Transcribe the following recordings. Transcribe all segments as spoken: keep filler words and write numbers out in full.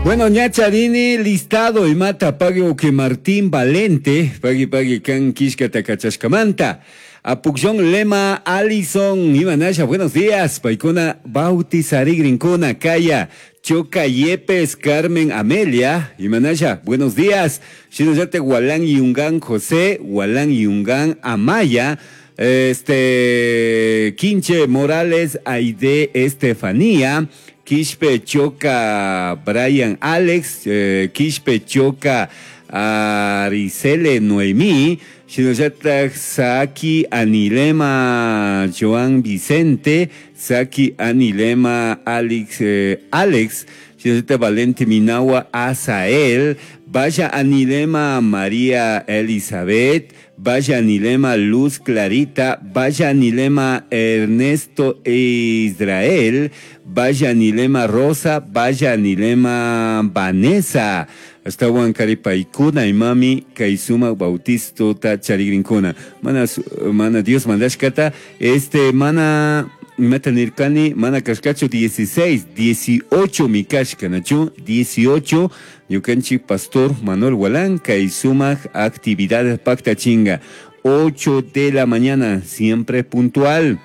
Bueno, ñacharini listado imata pagui que Martín Valente, pagui pagui kan kishka takachashkamanta. Apukllon Lema Alison, Imanasha, buenos días. Paikuna bautizarigrinkuna, Kaya, Choca Yepes, Carmen Amelia, Imanasha, buenos días. Shinallate Gualán Yungan José, Gualán Yungan Amaya, este Quinche Morales, Aide Estefanía, Quispe Choca Brian Alex, eh, Quispe Choca Aricele Noemí, Shinoyatak Saki Anilema Joan Vicente, Saki Anilema Alex, eh, Alex, Shinoyata Valente Minawa Asael, Vaya Anilema María Elizabeth, Vaya Anilema Luz Clarita, Vaya Anilema Ernesto Israel, Vaya Anilema Rosa, Vaya Anilema Vanessa. Astawan karipaykuna imami kaysuma bautisto ta charigrinkuna. Mana, mana Dios mandashkata, este mana imata nirkani, mana kashkachu dieciséis, dieciocho mikashka, nachu, dieciocho, ñukanchik pastor Manuel Gualán, kaysumak actividades pacta chinga, ocho de la mañana, siempre puntual.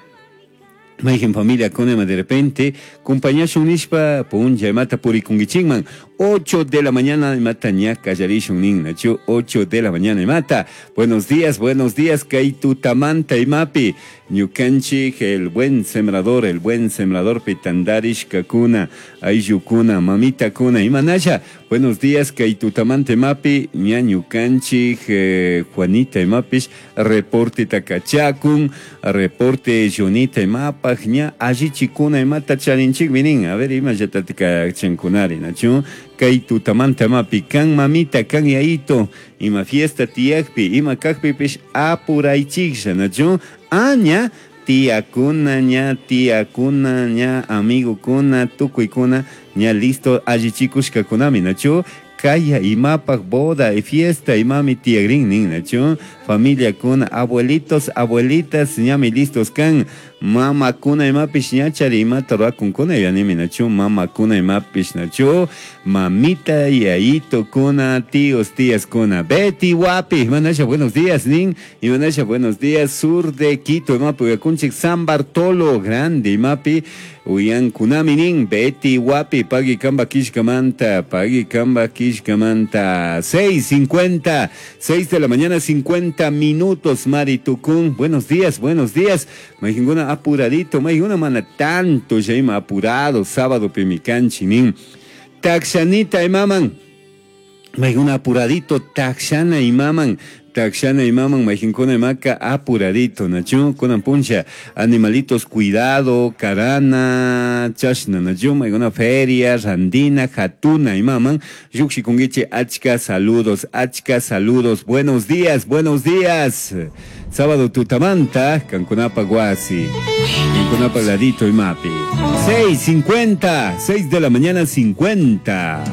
Maigen familia conema de repente, compañía nishpa, punja mata purikungichingman, ocho de la mañana mata ña kallarishun nin, nachu, ocho de la mañana mata. Buenos días, buenos días, kaitu tamanta imapi, ñukanchik, el buen sembrador, el buen sembrador pitandarish kakuna, ayukuna, mamita kuna, imanasha. Buenos días, kaitu tamanta imapi, ña ñukanchik, eh, Juanita imapish, reporte takachakun, reporte Jonita imapa, ña allichikuna imata charinchik minin, a ver, ima yatatika chankunari, nachu, kay tutamanta mapi, kan mamita, kan yaito, ima fiesta tiyakpi, ima kakpipish apuraychiklla, nachu, aña, tiyakuna, ña, tiyakuna, ña, amigokuna, tukuykuna, ña listo, allichikushkakunami, nachu, kaya imapak boda y fiesta imami tiyagrin nin, nachu, familia kuna, abuelitos, abuelitas, ñami listos kan, mama kuna imapish ñachari imata ruwakunkuna yanimi, nachu, mama kuna imapish, nachu, mamita, yayito kuna, tíos, tías kuna, Betty Wapi, imanasha, buenos días, nin, imanasha, buenos días, sur de Quito, imapi, uyakunchik, San Bartolo, grande, imapi, uyan kunami, nin, Betty Wapi, pagui kamba kishkamanta, pagui kamba kishkamanta, seis cincuenta, seis de la mañana, cincuenta minutos, Mari Tucún, buenos días, buenos días, majinguna apuradito, majinguna mana tanto, ya ima apurado, sábado pimicanchi, nin, taxanita imaman, majinguna apuradito, taxana imaman, taxana imaman, majinkuna imaka apuradito, nachu, kunan puncha, animalitos cuidado, karana, chashna, nachu, maiguna feria, randina, jatuna imaman, yukshikungiche, achka saludos, achka saludos, buenos días, buenos días, sábado tutamanta, kankunapa guasi, kankunapa ladito imapi, seis cincuenta, seis de la mañana cincuenta.